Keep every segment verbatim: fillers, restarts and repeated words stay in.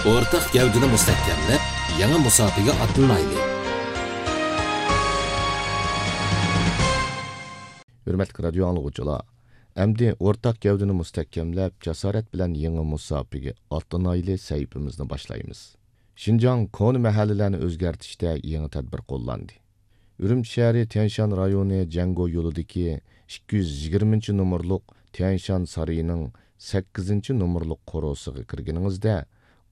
ئورتاق گەۋدىنى مۇستەھكەملەپ، يېڭى مۇساپىگە ئاتلىنايلى! ھۆرمەتلىك رادىيو ئاڭلىغۇچىلار، ئەمدى ئورتاق گەۋدىنى مۇستەھكەملەپ، جاسارەت بىلەن يېڭى مۇساپىگە ئاتلىنايلى سەھىپىمىزنى باشلايمىز. شىنجاڭ كونا مەھەللىلەرنى ئۆزگەرتىشتە يېڭى تەدبىر قوللاندى. ئۈرۈمچى شەھىرى تيەنشان رايونى جەڭگو يولىدىكى ئىككى يۈز يىگىرمىنچى نومۇرلۇق تيەنشان سارىيىنىڭ سەككىزىنچى نومۇرلۇق قورۇسىغا كىرگىنىڭىزدە،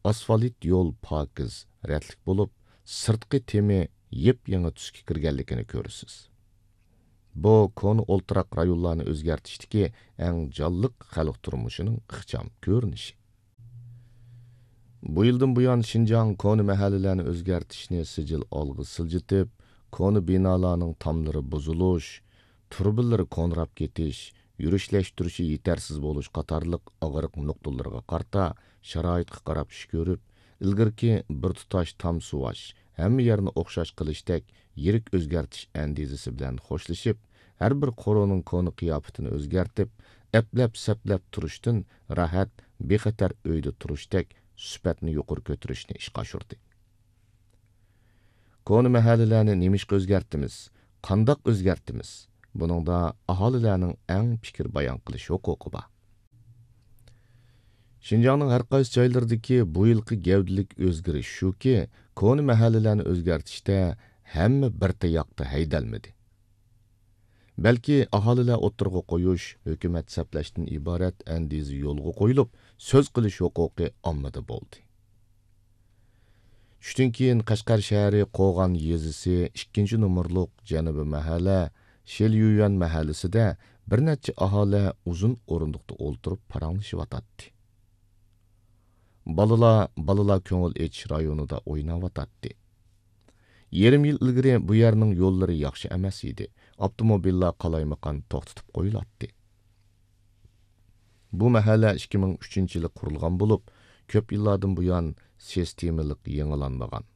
ئاسفالت يول پاكىز، رەتلىك بولۇپ، سىرتقى تېمى يېپيېڭى تۈسكە كىرگەنلىكىنى كۆرىسىز. بۇ كونا ئولتۇراق رايونلارنى ئۆزگەرتىشتىكى ئەڭ جانلىق خەلق تۇرمۇشىنىڭ ئىخچام كۆرۈنۈشى. بۇ يىلدىن بۇيان، شىنجاڭ كونا مەھەللىلەرنى ئۆزگەرتىشنى سىجىل ئالغا سىلجىتىپ، كونا بىنالارنىڭ تاملىرى بۇزۇلۇش، تۇرۇبىلىرى كونىراپ كېتىش، يۈرۈشلەشتۈرۈشى يېتەرسىز بولۇش قاتارلىق ئاغرىق نۇقتىلىرىغا قارىتا شارائىتقا قاراپ ئىش كۆرۈپ، ئىلگىرىكى بىر تۇتاش تام سۇۋاش، ھەممە يەرنى ئوخشاش قىلىشتەك يىرىك ئۆزگەرتىش ئەندىزىسى بىلەن خوشلىشىپ، ھەر بىر قورۇنىڭ كونا قىياپىتىنى ئۆزگەرتىپ، ئەپلەپ-سەپلەپ تۇرۇشتىن راھەت، بىخەتەر ئۆيدە تۇرۇشتەك سۈپەتنى يۇقىرى كۆتۈرۈشنى ئىشقا ئاشۇردى. كونا مەھەللىلەرنى نېمىشقا ئۆزگەرتىمىز؟ قانداق ئۆزگەرتىمىز؟ بۇنىڭدا ئاھالىلەرنىڭ ئەڭ پىكىر بايان قىلىش ھوقۇقى بار. شىنجاڭنىڭ ھەر قايسى جايلىرىدىكى بۇ يىلقى گەۋدىلىك ئۆزگىرىش شۇكى، كونا مەھەللىلەرنى ئۆزگەرتىشتە ھەممە بىر تاياقتا ھەيدەلمىدى. بەلكى ئاھالىلەر ئوتتۇرىغا قويۇش، ھۆكۈمەت سەپلەشتىن ئىبارەت ئەندىزە يولغا قويۇلۇپ، سۆز قىلىش ھوقۇقى ئاممىدا بولدى. چۈشتىن كېيىن قەشقەر شەھىرى قوغان يېزىسى ئىككىنچى نومۇرلۇق جەنۇبىي مەھەللە شېليۈيۈەن مەھەللىسىدە بىر نەچچە ئاھالە ئۇزۇن ئورۇندۇقتا ئولتۇرۇپ پاراڭلىشىۋاتاتتى. بالىلار، بالىلار كۆڭۈل ئېچىش رايونىدا ئويناۋاتاتتى. يېرىم يىل ئىلگىرى بۇ يەرنىڭ يوللىرى ياخشى ئەمەس ئىدى، ئاپتوموبىللار قالايمىقان توختىتىپ قويۇلاتتى. بۇ مەھەللە ئىككى مىڭ ئۈچىنچى يىلى قۇرۇلغان بولۇپ، كۆپ يىللاردىن بۇيان سىستېمىلىق يېڭىلانمىغان.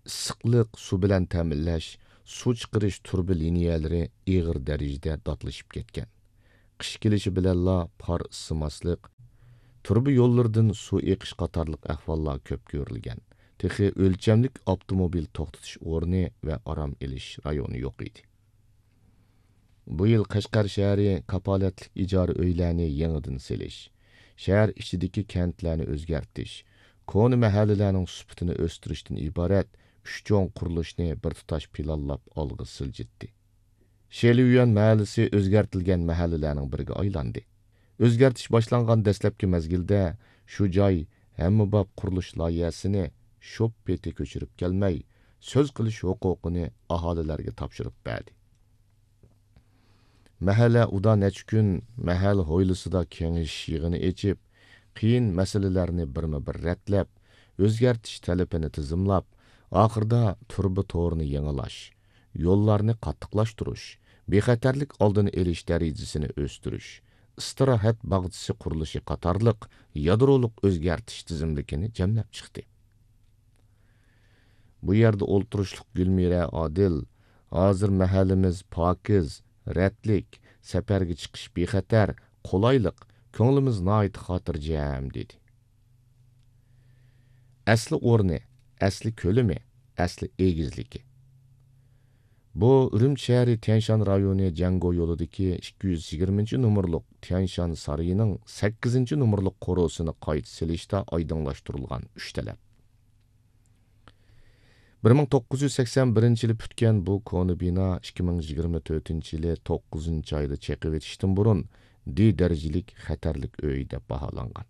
ئىسسىقلىق سۇ بىلەن تەمىنلەش، سۇ چىقىرىش تۇرۇبا لىنىيەلىرى ئېغىر دەرىجىدە داتلىشىپ كەتكەن. قىش كېلىشى بىلەنلا پار ئىسسىماسلىق، تۇرۇبا يوللىرىدىن سۇ ئېقىش قاتارلىق ئەھۋاللار كۆپ كۆرۈلگەن. تېخى ئۆلچەملىك ئاپتوموبىل توختىتىش ئورنى ۋە ئارام ئېلىش رايونى يوق ئىدى. بۇ يىل قەشقەر شەھىرى كاپالەتلىك ئىجارە ئۆيلەرنى يېڭىدىن سېلىش، شەھەر ئىچىدىكى كەنتلەرنى ئۆزگەرتىش، كونا مەھەللىلەرنىڭ سۈپىتىنى ئۆستۈرۈشتىن ئىبارەت ئۈچ چوڭ قۇرۇلۇشنى بىر تۇتاش پىلانلاپ ئالغا سىلجىتتى. شېليۈەن مەھەللىسى ئۆزگەرتىلگەن مەھەللىلەرنىڭ بىرىگە ئايلاندى. ئۆزگەرتىش باشلانغان دەسلەپكى مەزگىلدە شۇ جاي ھەممىباب قۇرۇلۇش لايىھەسىنى شوپپىتى كۆچۈرۈپ كەلمەي، سۆز قىلىش ھوقۇقىنى ئاھالىلەرگە تاپشۇرۇپ بەردى. مەھەللە ئۇدا نەچچە كۈن مەھەللە ھويلىسىدا كېڭىشىش يىغىنى ئېچىپ، قىيىن مەسىلىلەرنى بىرمۇ بىر رەتلەپ، ئۆزگەرتىش تەلىپىنى تىزىملاپ، ئاخىرىدا تۇرۇبا تورىنى يېڭىلاش، يوللارنى قاتتىقلاشتۇرۇش، بىخەتەرلىك ئالدىنى ئېلىش دەرىجىسىنى ئۆستۈرۈش، ئىستىراھەت باغچىسى قۇرۇلۇشى قاتارلىق يادرولۇق ئۆزگەرتىش تىزىملىكىنى جەملەپ چىقتى. بۇ يەردە ئولتۇرۇشلۇق گۈلمىرە ئادىل، ھازىر مەھەللىمىز پاكىز، رەتلىك، سەپەرگە چىقىش بىخەتەر، قولايلىق، كۆڭلىمىز ناھايىتى خاتىرجەم، دېدى. ئەسلى ئورنى، ئەسلى كۆلىمى، ئەسلى ئېگىزلىكى. بۇ ئۈرۈمچى شەھىرى تيەنشان رايونى جەڭگو يولىدىكى ئىككى يۈز يىگىرمىنچى نومۇرلۇق تيەنشان سارىيىنىڭ سەككىزىنچى نومۇرلۇق قورۇسىنى قايتا سېلىشتا ئايدىڭلاشتۇرۇلغان ئۈچ تەلەپ. بىر مىڭ توققۇز يۈز سەكسەن بىرىنچى يىلى پۈتكەن بۇ كونا بىنا ئىككى مىڭ يىگىرمە تۆتىنچى يىلى توققۇزىنچى ئايدا چېقىۋېتىشتىن بۇرۇن دى دەرىجىلىك خەتەرلىك ئۆي دەپ باھالانغان.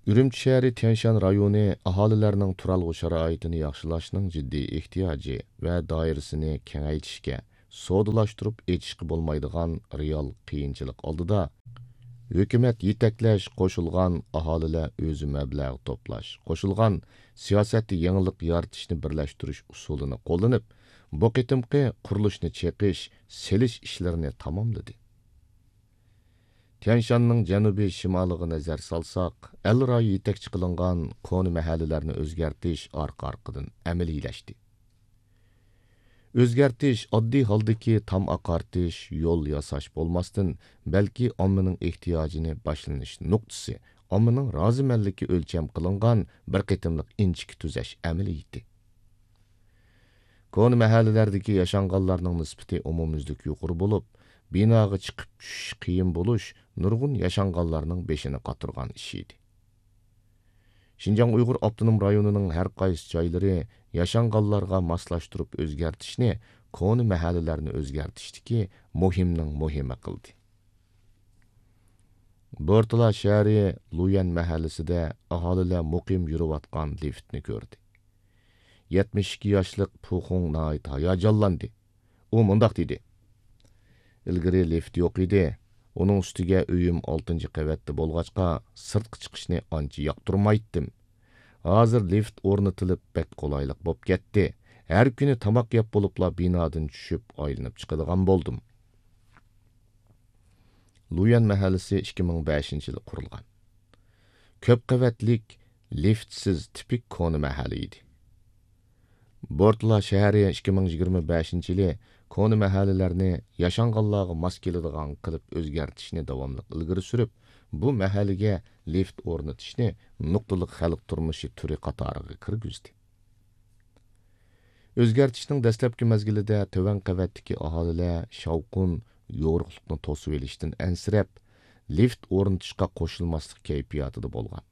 ئۈرۈمچى شەھىرى تيەنشان رايونى ئاھالىلەرنىڭ تۇرالغۇ شارائىتىنى ياخشىلاشنىڭ جىددىي ئېھتىياجى ۋە دائىرىسىنى كېڭەيتىشكە، سودىلاشتۇرۇپ ئېچىشقا بولمايدىغان رېئال قىيىنچىلىق ئالدىدا، ھۆكۈمەت يېتەكلەش، قوشۇلغان ئاھالىلەر ئۆزى مەبلەغ توپلاش، قوشۇلغان سىياسەتتە يېڭىلىق يارىتىشنى بىرلەشتۈرۈش ئۇسۇلىنى قوللىنىپ، بۇ قېتىمقى قۇرۇلۇشنى چېقىش، سېلىش ئىشلىرىنى تاماملىدى. تيەنشاننىڭ جەنۇبىي شىمالىغا نەزەر سالساق، ئەل رايى يېتەكچى قىلىنغان كونا مەھەللىلەرنى ئۆزگەرتىش ئارقا-ئارقىدىن ئەمەلىيلەشتى. ئۆزگەرتىش ئاددىي ھالدىكى تام ئاقارتىش، يول ياساش بولماستىن، بەلكى ئاممىنىڭ ئېھتىياجىنى باشلىنىش نۇقتىسى، ئاممىنىڭ رازىمەنلىكى ئۆلچەم قىلىنغان بىر قېتىملىق ئىنچىكە تۈزەش ئەمەلىيىتى. كونا مەھەللىلەردىكى ياشانغانلارنىڭ نىسبىتى ئومۇميۈزلۈك يۇقىرى بولۇپ، بىناغا چىقىپ چۈشۈش قىيىن بولۇش نۇرغۇن ياشانغانلارنىڭ بېشىنى قاتۇرغان ئىشى ئىدى. شىنجاڭ ئۇيغۇر ئاپتونوم رايونىنىڭ ھەر قايسى جايلىرى ياشانغانلارغا ماسلاشتۇرۇپ ئۆزگەرتىشنى كونا مەھەللىلەرنى ئۆزگەرتىشتىكى مۇھىمنىڭ مۇھىمى قىلدى. بورتالا شەھىرى لۇيۈەن مەھەللىسىدە ئاھالىلەر مۇقىم يۈرۈۋاتقان لىفتنى كۆردى. يەتمىش ئىككى ياشلىق پۇخۇڭ ناھايىتى ھاياجانلاندى. ئۇ مۇنداق دېدى: «ئىلگىرى لىفت يوق ئىدى. ئۇنىڭ ئۈستىگە ئۆيۈم ئالتىنچى قەۋەتتە بولغاچقا، سىرتقا چىقىشنى ئانچە ياقتۇرمايتتىم. ھازىر لىفت ئورنىتىلىپ، بەك قولايلىق بوپ كەتتى. ھەر كۈنى تاماق يەپ بولۇپلا بىنادىن چۈشۈپ، ئايلىنىپ چىقىدىغان بولدۇم.» لۇيۈەن مەھەللىسى ئىككى مىڭ بەشىنچى يىلى قۇرۇلغان. كۆپ قەۋەتلىك، لىفتسىز تىپىك كونا مەھەللە ئىدى. بورتلا شەھىرى ئىككى مىڭ يىگىرمە بەشىنچى يىلى كونا مەھەللىلەرنى ياشانغانلارغا ماس كېلىدىغان قىلىپ ئۆزگەرتىشنى داۋاملىق ئىلگىرى سۈرۈپ، بۇ مەھەللىگە لىفت ئورنىتىشنى نۇقتىلىق خەلق تۇرمۇشى تۈرى قاتارىغا كىرگۈزدى. ئۆزگەرتىشنىڭ دەسلەپكى مەزگىلىدە تۆۋەن قەۋەتتىكى ئاھالىلەر شاۋقۇن، يورۇقلۇقنى توسۇۋېلىشتىن ئەنسىرەپ، لىفت ئورنىتىشقا قوشۇلماسلىق كەيپىياتىدا بولغان.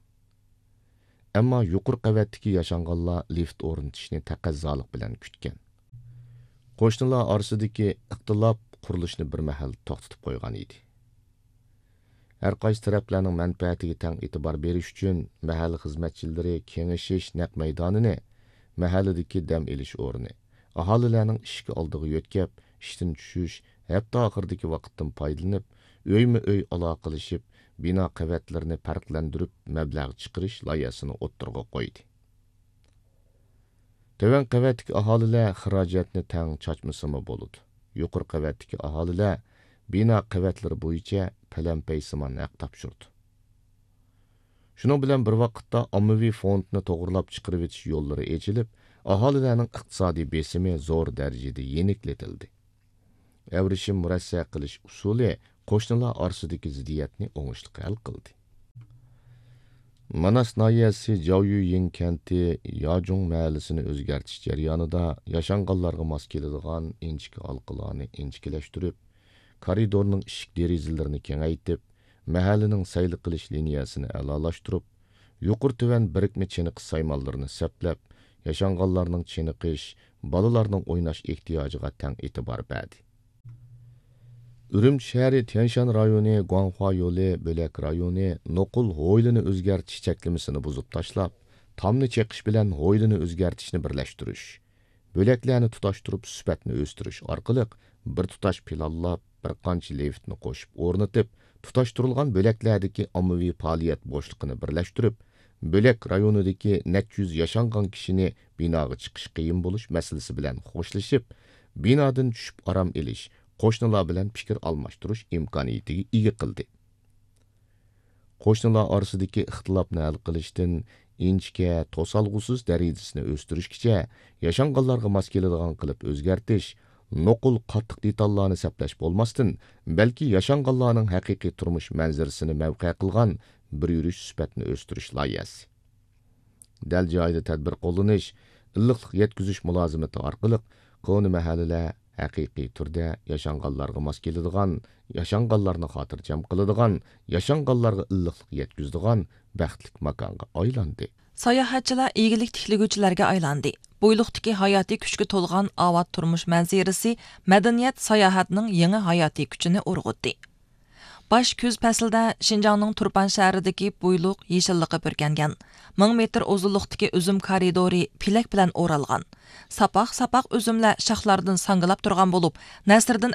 ئەمما يۇقىرى قەۋەتتىكى ياشانغانلار لىفت ئورنىتىشنى تەقەززالىق بىلەن كۈتكەن. قوشنىلار ئارىسىدىكى ئىختىلاپ قۇرۇلۇشنى بىر مەھەل توختىتىپ قويغان ئىدى. ھەر قايسى تەرەپلەرنىڭ مەنپەئەتىگە تەڭ ئېتىبار بېرىش ئۈچۈن، مەھەللە خىزمەتچىلىرى كېڭىشىش نەق مەيدانىنى، مەھەللىدىكى دەم ئېلىش ئورنى، ئاھالىلەرنىڭ ئىشىك ئالدىغا يۆتكەپ، ئىشتىن چۈشۈش، ھەپتە ئاخىرىدىكى ۋاقىتتىن پايدىلىنىپ، ئۆيمۇ ئۆي ئالاقىلىشىپ، بىنا قەۋەتلىرىنى پەرقلەندۈرۈپ، مەبلەغ چىقىرىش لايىھەسىنى ئوتتۇرىغا قويدى. تۆۋەن قەۋەتتىكى ئاھالىلەر خىراجەتنى تەڭ چاچمىسىمۇ بولىدۇ. يۇقىرى قەۋەتتىكى ئاھالىلەر بىنا قەۋەتلىرى بويىچە پەلەمپەيسىمان ھەق تاپشۇرىدۇ. شۇنىڭ بىلەن بىر ۋاقىتتا، ئاممىۋى فوندنى توغرىلاپ چىقىرىۋېتىش يوللىرى ئېچىلىپ، ئاھالىلەرنىڭ ئىقتىسادىي بېسىمى زور دەرىجىدە يېنىكلىتىلدى. ئەۋرىشىم مۇرەسسە قىلىش ئۇسۇلى قوشنىلار ئارىسىدىكى زىددىيەتنى ئوڭۇشلۇق ھەل قىلدى. ماناس ناھىيەسى جاۋيۈيىڭ كەنتى ياجۇڭ مەھەللىسىنى ئۆزگەرتىش جەريانىدا ياشانغانلارغا ماس كېلىدىغان ئىنچىكە ھالقىلارنى ئىنچىكىلەشتۈرۈپ، كارىدورنىڭ ئىشىك دېرىزىلىرىنى كېڭەيتىپ، مەھەللىنىڭ سەيلە قىلىش لىنىيەسىنى ئەلالاشتۇرۇپ، يۇقىرى تۆۋەن بىرىكمە چېنىقىش سايمانلىرىنى سەپلەپ، ياشانغانلارنىڭ چېنىقىش، بالىلارنىڭ ئويناش ئېھتىياجىغا تەڭ ئېتىبار بەردى. ئۈرۈمچى شەھىرى تيەنشان رايونى گۇاڭخۇا يولى بۆلەك رايونى نوقۇل ھويلىنى ئۆزگەرتىش چەكلىمىسىنى بۇزۇپ تاشلاپ، تامنى چېقىش بىلەن ھويلىنى ئۆزگەرتىشنى بىرلەشتۈرۈش، بۆلەكلەرنى تۇتاشتۇرۇپ سۈپەتنى ئۆستۈرۈش ئارقىلىق بىر تۇتاش پىلانلاپ، بىر قانچە لىفتنى قوشۇپ ئورنىتىپ، تۇتاشتۇرۇلغان بۆلەكلەردىكى ئاممىۋى پائالىيەت بوشلۇقىنى بىرلەشتۈرۈپ، بۆلەك رايونىدىكى نەچچە يۈز ياشانغان كىشىنى بىناغا چىقىش قىيىن بولۇش مەسىلىسى بىلەن خوشلىشىپ، بىنادىن چۈشۈپ ئارام ئېلىش، قوشنىلار بىلەن پىكىر ئالماشتۇرۇش ئىمكانىيىتىگە ئىگە قىلدى. قوشنىلار ئارىسىدىكى ئىختىلاپنى ھەل قىلىشتىن ئىنچىكە، توسالغۇسىز دەرىجىسىنى ئۆستۈرۈشكىچە ياشانغانلارغا ماس كېلىدىغان قىلىپ ئۆزگەرتىش، نوقۇل قاتتىق دېتاللارنى سەپلەش بولماستىن، بەلكى ياشانغانلارنىڭ ھەقىقىي تۇرمۇش مەنزىرىسىنى مەۋقە قىلغان بىر يۈرۈش سۈپەتنى ئۆستۈرۈش لايىھەسى. دەل جايىدا تەدبىر قوللىنىش، ئىللىقلىق يەتكۈزۈش مۇلازىمىتى ئارقىلىق كونا مەھەللىلەر ھەقىقىي تۈردە ياشانغانلارغا ماس كېلىدىغان، ياشانغانلارنى خاتىرجەم قىلىدىغان، ياشانغانلارغا ئىللىقلىق يەتكۈزىدىغان بەختلىك ماكانغا ئايلاندى. ساياھەتچىلەر ئىگىلىك تىكلىگۈچىلەرگە ئايلاندى. بويلۇقتىكى ھاياتىي كۈچكە تولغان ئاۋات تۇرمۇش مەنزىرىسى مەدەنىيەت ساياھەتنىڭ يېڭى ھاياتىي كۈچىنى ئۇرغۇتتى. باش كۈز پەسلىدە شىنجاڭنىڭ تۇرپان شەھىرىدىكى بويلۇق يېشىللىققا پۈركەنگەن، مىڭ مېتىر ئۇزۇنلۇقتىكى ئۈزۈم كارىدورى پېلەك بىلەن ئورالغان. ساپاق-ساپاق ئۈزۈملەر شاخلاردىن ساڭگىلاپ تۇرغان بولۇپ، نەسىردىن